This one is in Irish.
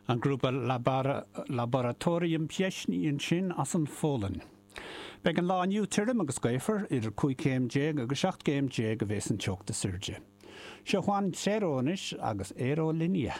An grúpa Laboratorium Pieśni ansin as an Pholainn. Beidh an lá inniu tirim agus gaofar, idir 15 céim agus 17 gcéim a bheas an teocht is airde. Seo Juan Cero anois agus Aerolínea.